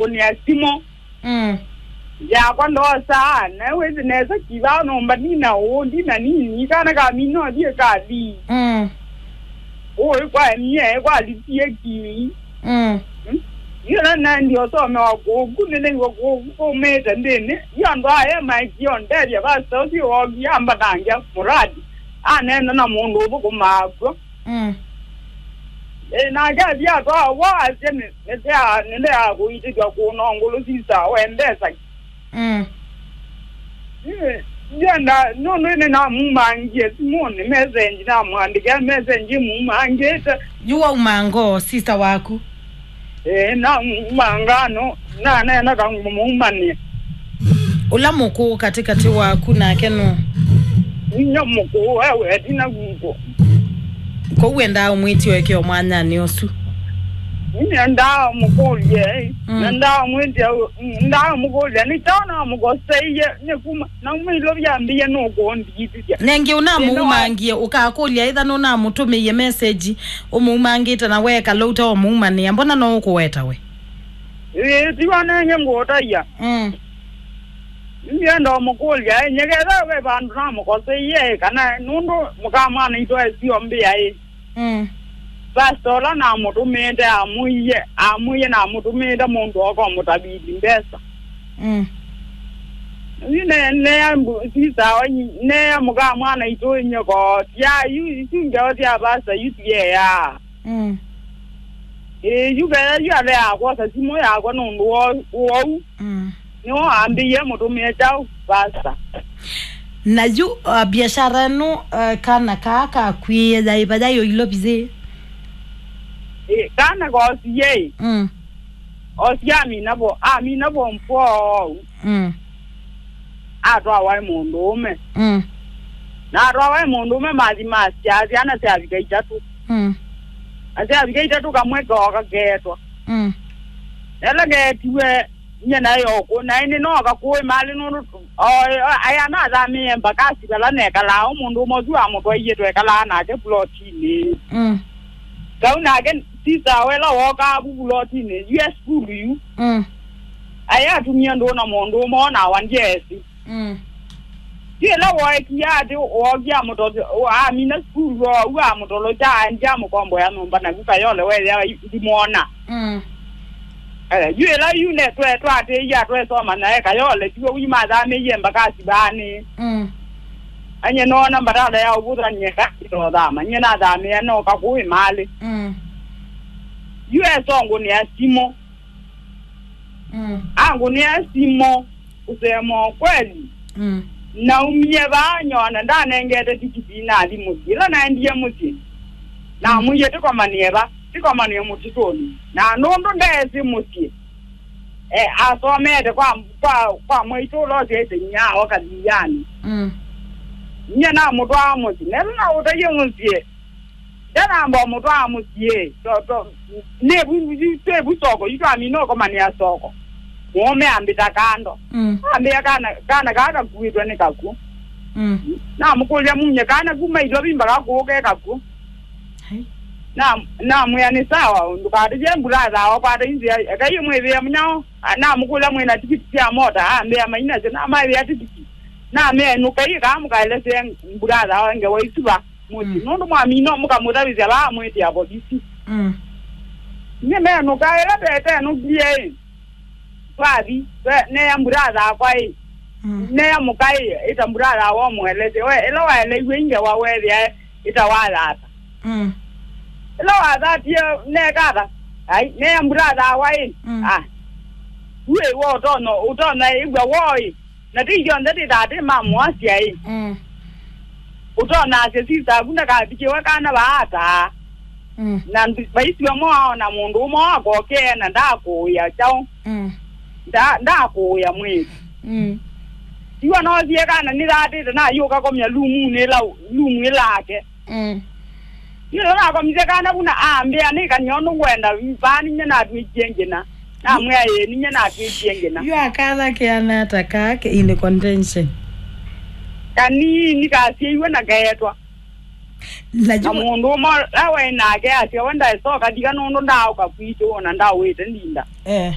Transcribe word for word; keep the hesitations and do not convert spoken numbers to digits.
kũnĩa simũ. Mm. Yakwa ndosa, na wĩsĩ nesa kĩva nyũmba nina ũũ, ndina nini, kana kamina ũthiĩ kathi. Mm. Ũĩ kwa mie, kwa litie ki. Mm. Mm. Yĩla naendie ũsomewa kũku, nĩnĩw'a kũku kũmĩte nthĩnĩ. Yo andũ aya maekio ndethya pastor ũsu woki ambatangya mũradi. Aneena na mũndũ ũthũkũmaa kw'o. Mm. Ĩ, nake athi atwawa, asya nĩ, nĩtea, nĩndeaa kũitĩthya kũna ngũlũ sisa we mbesa. Mm. Ĩ, ndienda, nũndũ nĩnamumangie simũnĩ message, namwandĩkĩa message mumangĩte. Yu wauma ngoo, sister waku? Ĩĩ, namumanga no, naneena kangũmũumanĩa. Ũla mũkũũ katĩkatĩ waku nake nũ? Inyia mũkũũ, we weti na guko. Kwoou wendaa ũmwĩtye ũekeo mwanyanĩ ũsu? Nĩendaa mũkũlye, mm, na ndaa mwĩtye, ndaa mũkũlya, nĩ kyaũ namũkoseie, nĩ kuma, na mĩilo vyambĩie nũkũndithĩthya. Nengĩ ũnamũumangie, ũkakũlya ĩtha nũnamũtũmĩie message ũmũumangĩte na weekala ũteũmũumanĩa, mbona no ũkũweta we? Ĩĩ, tiwa nenge ngũũtaia. Mm. Ndienda ũmũkũlya, nyeketha ve vandũ namũkoseie, kana nũndũ mũka mwana itũ esio mbĩa ĩ. Mm. Pastor ũla namũtũmĩĩte amwĩie, amwĩie namũtũmĩĩte mũndũ oka ũmũtavili mbesa. Mm. Yu ne, ne, sister, ne mũka mwana itũ nyeko, ya, yu, isu ngeo sya pastor, yu tiea. Mm. Ĩĩ, yu kethwa yu ale yakwosa simũ yakwa nũndũ wa ũu. Mm. Nĩwe wambĩie mũtũmĩe kyaũ, pastor. Na yu, uh, biashara ĩno, uh, kana kaa kakwĩe yaĩ vaya yo ilo bizĩ? Ĩĩ, kana koosie ĩ. Mm. Osie amina vo, amina vo mfoo. Mm. Atwawa ĩ mũndũũme. Mm. Na atwawa ĩ mũndũũme mathi masya syana syavika itatũ. Mm. Na syavika itatũ kamwe kooka keetwa. Mm. Ela keetiwe nye naĩ okũ, na ĩndĩ nooka kũĩ malĩ nũndũ, o, o, aya nathamĩĩe mbakasi vala nekalaa, o mũndũũme ũsu amũtwaie twekalaa nake pulotinĩ. Mm. Kau nake sister wela wokaa vu pulotinĩ, yu e sukulu yu. Mm. Aya atumie ndũũ na mũndũũme o nawa ndyeesĩ. Mm. Yu ĩla wookie atĩ wookie amũtolya, amina sukulu oou amũtolokya aendie amũkomboea nyũmba naku Kayole wethĩa ndimwona. Mm. Eh, yu ĩla yu ne twe twatĩĩie atwesoma nae Kayole tiwe wi mathamĩie mbakasi vaanĩ. Mm. Anye noona mbatala ya ũvũthany'e ka itothama. Nye nathamĩa noka kũĩ malĩ. Mm. Yu esongũnĩa simũ. Mm. Angũnĩa simũ, kusema ukweli. Mm. Naumie vaa nyona ndanengete tikiti nathi mũsyĩ. Ĩla naendie mũsyĩ, namwĩie tĩkomanĩe va, tĩkomanĩe mũtitũnĩ. Na nũndũ ndeesĩ mũsyĩ, eh, asomete kwa, kwa, kwa mwaitũ ũla ũsyaĩte inyia ao Kathianĩ. Mm. Nyie namũtwaa mũsyĩ. Na ĩla naũtaie mũsyĩ, ndanamba ũmũtwaa mũsyĩ. To, to, nĩ vu, vu, twĩ vu soko, yu twamina ũkomanĩa soko. Mũũme ambĩta kando. Mm. Ambĩa kana, kana kaa kakuĩtwe nĩ kakw'ũ. Mm. Namũkũlya munye kana kuma ilo vimbaka kũũ ke kakw'ũ. Hai. Na, namwĩa nĩ sawa, ndũkatĩthye mbulatha akwata inzĩa, ekai mwĩvĩe mũnyao. A, namũkũlya mwĩna tikiti sya mota, ambĩa mainasyo, namaĩvĩa tikiti. Namea nũkai kaa mũkaelesee mbulatha awa ngewa isu va mũsyĩ. Mm. Nũndũ mwamina mũkamũtavĩsya vaa mwĩtĩa volisi. Mm. Nĩmenũka ĩla tetenũkie ĩ. Twathi, twe-, neya mbulatha akwa ĩ. Mm. Neya mũka ĩ, ĩta mbulatha awa ũmũelesye. We, ĩla waeleiwe ingewa weethĩa ĩta wathata. Mm. Ĩla wathatie nekatha. Ai, neya mbulatha awa ĩ. Mm. Ah. Uĩ wo ũtono, ũtono ĩw'a wo ĩ. Na ti ithyonthe tĩtaa tĩ ma mũasya ĩ. Mm. Ũtonasya sista aku ndakavikĩwe kana vaataa. Mm. Na ndu-, vaisiwa mo aona mũndũ ũmwe wakokee na ndakũĩa kyaũ. Mm. Nda-, ndakũĩa mwĩĩ. Mm. Iwa nosie kana nĩthatĩte nayũka komya lumunĩ ĩla, lumu ĩlake. Mm. Yu ĩla nakomisye kana vu na ambĩa, nĩkany'o nũkwenda vaa ninyie natw'ĩkie ngĩna. Namwĩa, ĩĩ, ninyie natw'ĩkie ngĩna. Yu akatha keana ata kaa ke in contention? Kanini kasyaiwe na keetwa. Na Na yu mũndũ ũmwe ũla waĩ nake asya, we ndaĩsoka thika nũndũ ndaaũka kwitũ, ona ndaũĩte ndinda. Eh.